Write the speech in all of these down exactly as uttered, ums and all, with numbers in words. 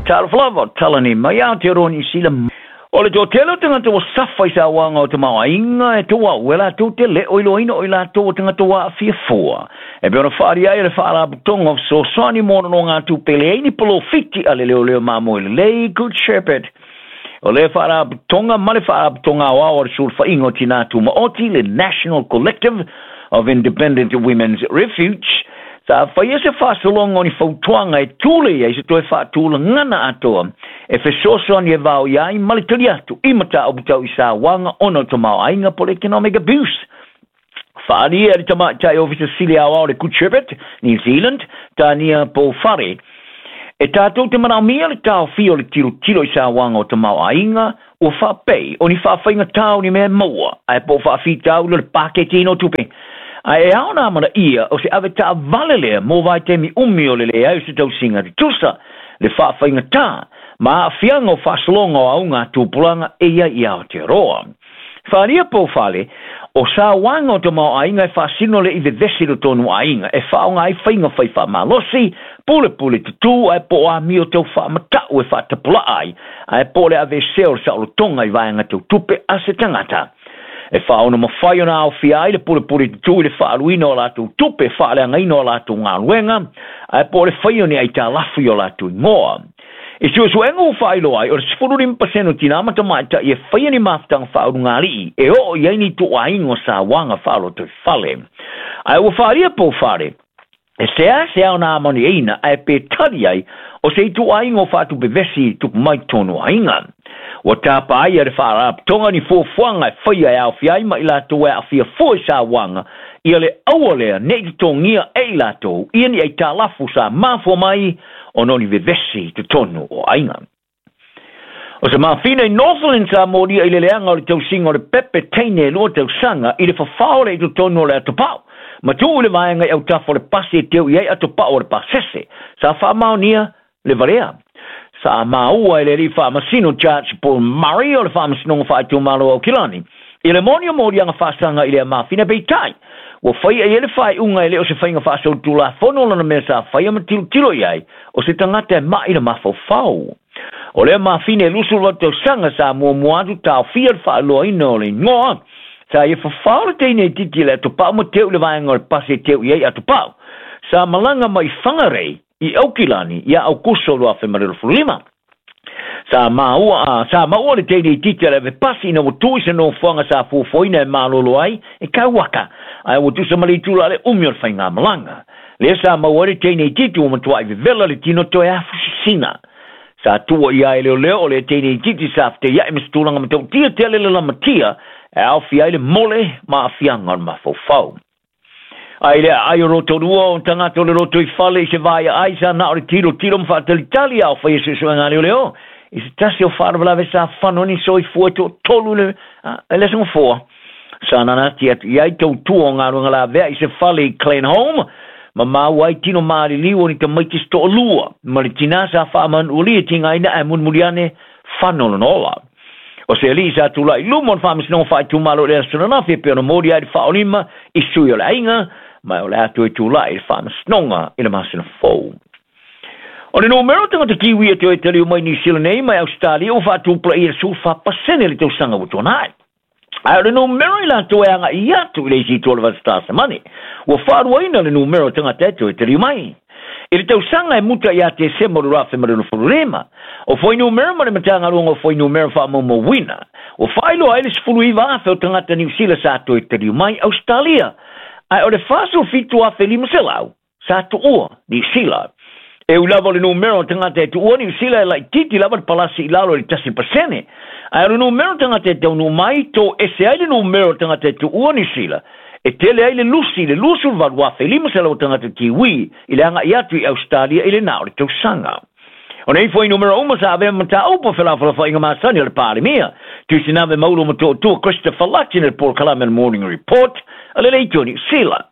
Talofa lava, tala nei mai Aotearoa Niu Sila. O le toatele o tagata ua safa i sauaga o tamaoaiga e touau e latou te le o iloaina o i latou o tagata ua aafia fua. E pei ona faaalia ai e le Faalapotopotoga o Fesoasoani mo Nonogatupe leai ni polofiti a le leoleo mamoe lelei Good Shepherd. O le Faalapotopotoga ma le Faalapotopotoga Aoao o le Sulufaiga o Tinā Tumaoti, le National Collective of Independent Women's Refuge, sa faia se faasologa o ni fautuaga e tule ai se toe faatulagana atoa e fesoasoani e vaoia ai ma le tali atu i mataupu tau i sauaga ona o tamaoaiga po le economic abuse. Faaalia e le tamaitai Ofisa Sili Aoao le Good Shepherd, New Zealand, Tania Pouwhare, e tatou te manaomia le taofia o le tilotilo i sauaga o tamaoaiga ua faapei o ni faafaigatā o ni mea maua ae po o faafitauli o le paketiina o tupe. Ae ao na amanaia o se ave taavale lea mo vaitaimi umi o le leai o se tausiga tutusa le faafaigatā ma aafiaga o faasologa o auga tupulaga e ia i Aotearoa. Faaalia Pouwhare, o sauaga o tamaoaiga e faasino le i vevesi i totonu o aiga e faaaoga ai faiga fai faamalosi, pulepule tutū ae po o amio tau faamatau e faatapulaa ai, ae po o le aveesea o le saolotoga i vaega tau tupe a se tagata. E faaono mafai ona aofia ai le pulepule tutū i le faaluina o latou tupe, faaleagaina o latou galuega, ae po o le faia o ni aitalafu i o latou igoa. I suesuega ua faailoa ai, o le sefulu lima pasene o tinā ma tamaitai e faia ni mafutaga faaulugalii e oo i ai ni ituaiga o sauaga faalotoifale. Ae ua faaalia Pouwhare, e seasea ona amaniaina ae pe tali ai o se ituaiga o faatupevesi tupu mai totonu o aiga. Ua tapa ai e le Faalapotopotoga ni fuafuaga e faia e aofia ai ma i latou e aafia fua i sauaga ia le aua lea nei totogia e i latou ia ni aitalafu sa mafua mai ona o ni vevesi i totonu o aiga. O se mafina i Northland sa molia i le leaga o le tausiga o le pepe teine e lua tausaga i le fafao le i totonu o le atopau. Ma tuu i le vaega i autafa o le pasi e teu i ai atopau o le pasese. Sa faamaonia le valea. Sa maua e le alii faamasino Judge Paul Murray o le Faamasinoga Faaitumalo o Aukilani i le moni o moliaga faasaga i lea mafina, peitai ua faia i ai le faaiuga e le o se faiga faasolitulafono lona mea sa faia ma tilotilo i ai o se tagata e mai le mafaufau. O lea mafina e luasefuluvalu tausaga sa muamua atu taofia le faailoaina o le igoa. Sa ia fafao le teine itiiti i le atopau ma teu i le vaega o le pasi e teu i ai atopau. Sa malaga mai Whangarei i Aukilani ia Aukuso lua afe ma le luasefulu lima. Sa maua a sa maua le teine itiiti a le ave pasi ina ua tu i se nofoaga sa fuafuaina e malolo ai e kauaka, ae ua tusa ma le itula le umi o le faigamalaga. Lea sa maua ai le teine itiiti ua matuai vevela le tino toe afusisina. Sa tua ia e leoleo o le teine itiiti sa feteiai ma se tulaga matautia tele le lamatia e aofia ai le mole ma aafiaga o le mafaufau. Ai le aai o Rotorua o tagata o le loto i fale i se vaia ai sa na o le tilo tilo ma faatalitali ao faia suesuega a leoleo i se tasi o faalavelave sa fano ni soifua toatolu le e le asogafoa. Sa nanati atu i ai tautua o galuega lavea i se fale i Glenholme ma maua ai tino maliliu o ni tamaiti se toalua ma le tinā sa faamanualia tigaina ae mulimuli ane fano lona ola. O se alii sa tulai i luma o le Faamasinoga Faaitumalo i le aso ananafi e pei ona moli ai le faaolima i sui o le aiga, ma o le a toe tulai i le Faamasinoga i le masina fou. O le numera o tagata Kiwi e toe taliu mai Niu Sila nei mai Ausetalia ua faatupulaia i le sefulufa pasene i le tausaga ua tuanai. Ae o le numera i latou e agai atu i le isi itu o le vasa Tasamani, ua faaluaina le numera o tagata e toe taliu mai. I le tausaga e muta ia Tesema o le lua afe ma le luasefulu lima, o fuainumera ma le Matagaluega o Fuainumera Faamaumauina, ua faailoa ai le sefulu iva afe o tagata Niu Sila sa toe taliu mai Ausetalia, ae o le fasefulu fitu afe lima selau sa tuua Niu Sila. E ui lava o le numera o tagata e tuua Niu Sila e laitiiti lava le palasi i lalo i le tasi pasene, ae o le numera o tagata e taunuu mai to ese ai le numera o tagata e tuua Niu Sila, e tele ai le lusi i le luasefulu valu afe lima selau o tagata Kiwi i le agai atu i Ausetalia i le na o le tausaga. O nei fuainumera uma sa avea ma mataupu o felafolafoaiga masani a le Palemia, Tuisinave Maulu Motootua Christopher Luxon i le polokalame o le Morning Report a le Leitio Niu Sila.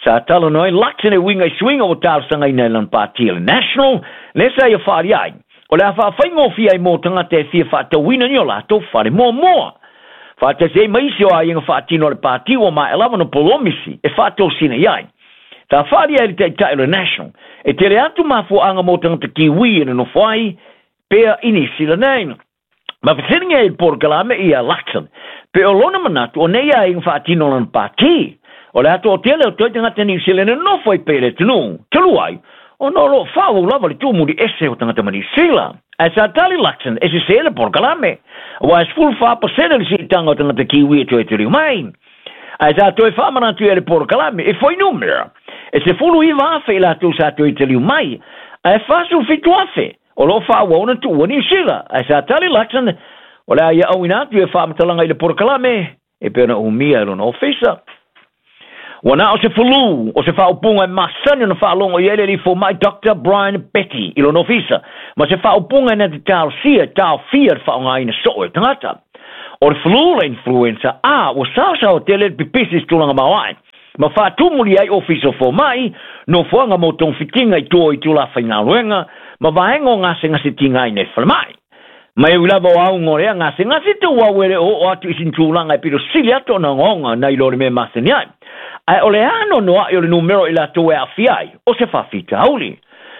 Sa talanoa ai Luxon e uiga i suiga ua talosagaina e lana pāti a le National, lea sa ia faaalia ai o le a faafaigofie ai mo tagata e fia faatauina ni o latou fale muamua. Faatasi ai ma isi o aiga faatino a le pāti ua maea lava ona polomisi e faatosina i ai. Sa faaalia ai le taitai o le National e tele atu mafuaaga mo tagata Kiwi e nonofo ai pea i Niu Sila nei. Ma fesiligia i le polokalame ia Luxon, pe o lona manatu o nei aiga faatino lona pati. O le atoa tele o toe tagata Niu Sila e nonofo ai pea i le atunuu, talu ai, ona o loo faaauau lava le tumuli ese o tagata ma Niu Sila. Ae sa tali Luxon e sesē le polokalame, auā e sefulu fa pasene le siitaga o tagata Kiwi e toe taliu mai. Ae sa toe faamanatu i le polokalame e fuainumera, e sefulu iva afe i latou sa toe taliu mai, ae fasefulu fitu afe o loo faaauau ona tuua Niu Sila. Ae sa tali Luxon o le a ia auina atu ia faamatalaga i le polokalame e pei ona umia e lona ofisa. Ua na o se fulu o se faaupuga e masani ona faalogo i ai le alii fomai Doctor Brian Betty i lona ofisa, ma se faaupuga e na te talosia e taofia le faaaogaina soo e tagata. O le flu le influenza A ua saosaoa tele le pipisi i se tulaga maoae, ma faatumuli ai ofisa o fomai, nofoaga mo togafitiga i tua o itulā faigaluega, ma vaega o gasegasetigaina i le falemai. Ma e ui lava o auga o lea gasegase tauau e le oo atu i sina tulaga e pito sili atu ona ogaoga nai lo le mea masani ai. Ae o le anoanoai o le numera i latou e aafia ai, o se faafitauli.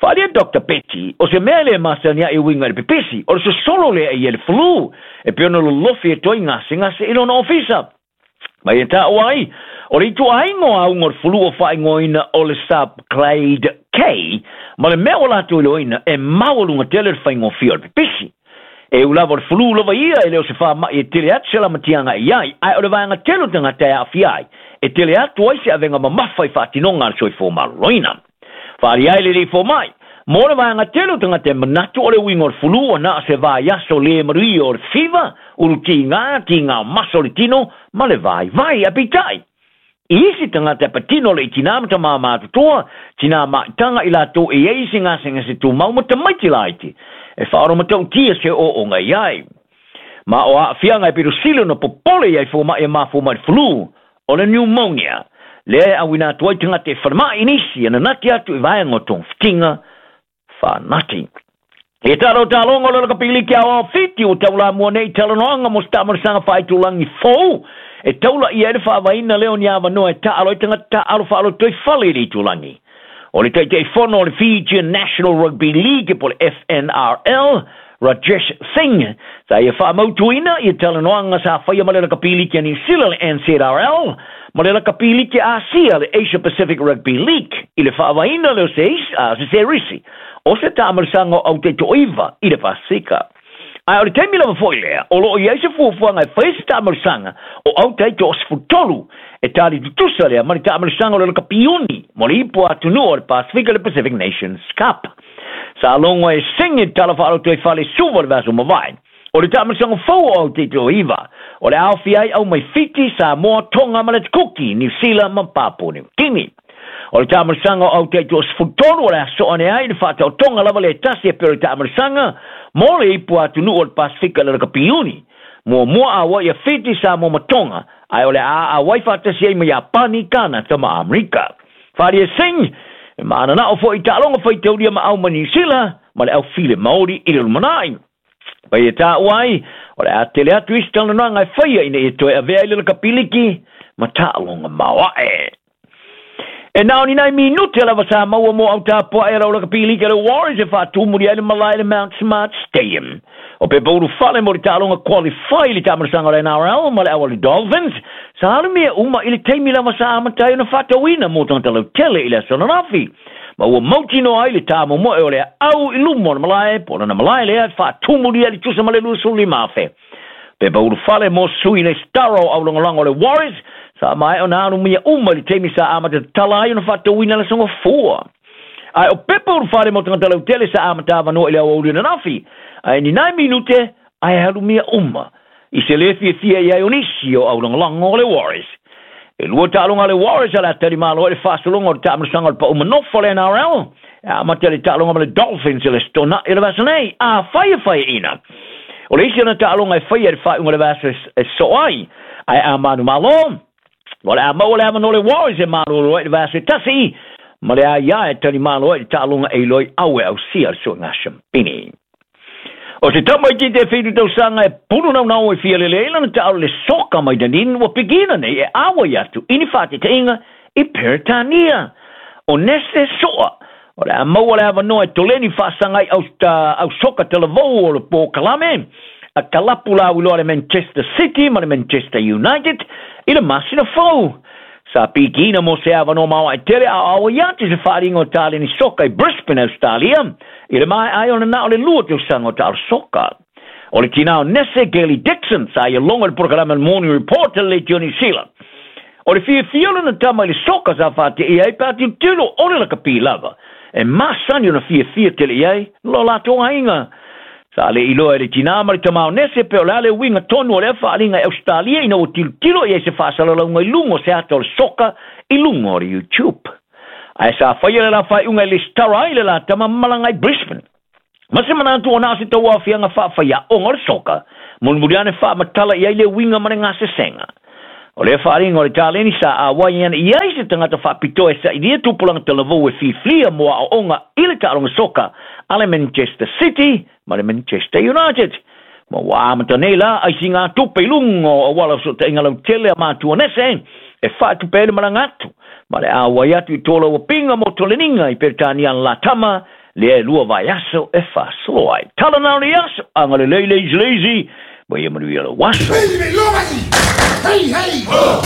Faaalia Doctor Betty, o se mea e le masani ai e uiga i le pipisi, o le sosolo lea i ai le flu, e pei ona lolofi e toe gasegase i lona ofisa. Ma ia taua ai, o le ituaiga o auga o le flu o faaigoaina o le subclade K, ma le mea ua latou iloaina e maualuga tele le faigofie o le pipisi. E ui lava o le flu lava ia e le o se faama'i e tele atu se lamatiaga i ai, ae o le vaega tele o tagata e aafia ai, e tele atu ai se avega mamafa i faatinoga a le soifua maloloina. Faaalia ai le alii fomai, mo le vaega tele o tagata e manatu o le uiga o le flu ua na o se vaiaso le manuia o le fiva, ulu tiga, tiga o maso o le tino, ma le vaivai. Ae peitai, i isi tagata e patino le i tinā ma tamā matutua, tinā maitaga i latou e i ai se gasegase tumau ma tamaiti laiti, e faaolomatautia se ooooga i ai. Ma o aafiaga e pito sili ona popole i ai fomai e mafua mai le flu, o le pneumonia, lea e auina atu ai tagata e falemai i nisi e nanati atu i vaega o togafitiga faanati. E talo taloga o le lakapiliki aoao Fiti ua taulamua nei talanoaga mo se taamalosaga faaitulagi fou e taulaia ai le faavaina lea o ni avanoa e taalo ai tagata taaalo faalotoifale i le itulagi. O le Taitaifono o le Fijian National Rugby League po o le F N R L, Rajesh Singh, sa ia faamautuina ia talanoaga sa faia ma le lakapiliki a Niu Sila le N Z R L, ma le lakapiliki a Asia le Asia Pacific Rugby League i le faavaina lea o se se serisi o se taamalosaga o autaitoiva i le Pasifika. Ae o le taimi lava foi lea, o loo i ai se fuafuaga e faia se taamalosaga o autaitoasefulutolu e tali tutusa lea ma le taamalosaga o le lakapiuni mo le ipu atunuu o le Pasifika le Pacific Nations Cup. Sa logo e Singh i le tala faalotoifale Suva le vaiaso mavae. O le taamalosaga fou o autaitoiva, o le aofia ai au mai Fiti, Samoa, Tonga ma le Kuki, Niu Sila ma Papua Niu Kini. O le taamalosaga o autaitoasefulutolu o le aso ane ai le faataotoga lava le tasi e pei o le taamalosaga mo le ipu atunuu o le Pasifika le lakapiuni. Muamua auai ia Fiti, Samoa ma Tonga, ae o le a auai faatasi ai ma Iapani, Kanata ma Amerika. Faaalia Singh, e maananao foi i taaloga faitaulia ma au ma Niu Sila ma le aufile Maori i le lumanai. Pai e taua ai, o le a tele atu isi talanoaga e faia ina ia toe avea i le lakapiliki ma taaloga maoae. E na o ni nai minute lava sa maua mo autapoae a lau lakapiliki a le Warriors e faatumuli ai le malae i le Mount Smart Stadium. O pepa ulufale mo le taaloga qualify i le taamalosaga o le N R L ma le au a le Dolphins, sa alumia uma i le taimi lava sa amatai ona faatauina mo tagata lautele i le aso ananafi. Ma ua mautinoa ai le taamomoe o le au i luma o le malae, po o lona malae lea e faatumuli ai le tusa ma le luasefululima afe. Pepa ulufale mo sui le stara o aulagolago o le Warriors, sa maea ona alumia uma i le taimi sa amata tatala ai ona faatauina le asoga fua. Ae o pepa ulufale mo tagata lautele sa amata avanoa i le aoauli ananafi, ae ni nai minute ae alumia uma i se le fiafia i ai o nisi o aulagolago o le Warriors. E lua taaloga a le Warriors a le atalimalo ai le faasologa o le taamalosaga o le pau manofo o le N R L, e amata le taaloga ma le Dolphins i le aso Tona'i o le vaiaso nei, a fai e faiaina. O le isi ona taaloga e faia i le faaiuga o le vaiaso e soo ai, ae a manumalo, o le a maua le avanoa o le Warriors e malolo ai le vaiaso e tasi, ma le aia e talimalo ai le taaloga e iloi au e ausia le suega shampini. O se tamaiti te whitu tausaga e pulu naunau e fialele ai lana taalo le soka mai Dunedin ua pikina nei e awa i atu i ni whātetainga i Peretania. O Nese Soa, O le a maua le avanoa e toleni faasagai au soka talavou o le polokalame a kalapu lauiloa le Manchester City ma le Manchester United i le masina fou. Sa pikiina mo se avanoa maoae tele aoao ai atu se faaaliga o taleni soka i Brisbane, Australia, i le maea ai ona na o le lua tausaga o taalo soka. O le tinā o Nese, Gaily Dixon, sa ia logo i le polokalame Morning Report a le Leitio Niu Sila. O le fiafia o lana tama i le soka sa faateia ai pe a tilotilo o le lakapi lava e masani ona fiafia tele i ai lo latou aiga. Sa le iloa e le tinā ma le tama o Nese pe o le a le uiga tonu o lea faaaliga i Australia ina ua tilotilo i ai se faasalalauga i luga o se ata o le soka i luga o le YouTube. Ae sa faia le la faaiuga e lesitala ai le la tama ma malaga i Brisbane. Ma se manatu ona o se tauaofiaga faafaiaoga o le soka, mulimuli ane faamatala i ai le uiga ma le gasesega. O lea faaaliga o le taleni sa auai ana i ai se tagata faapitoa e sailia tupulaga talavou e fifilia mo aoaoga i le taaloga soka a le Manchester City ma le Manchester United. Ma ua amata nei la aisiga tupe i luga o auala o fesootaiga lautele a matua Nese e faatupe ai le malaga atu ma le auai atu i tolauapiga mo toleniga i Peretania la tama lea e lua vaiaso e faasolo ai. Tala na o le aso, agalelei lazy lazy, ma ia manuia lau aso. Hey, hey, ho!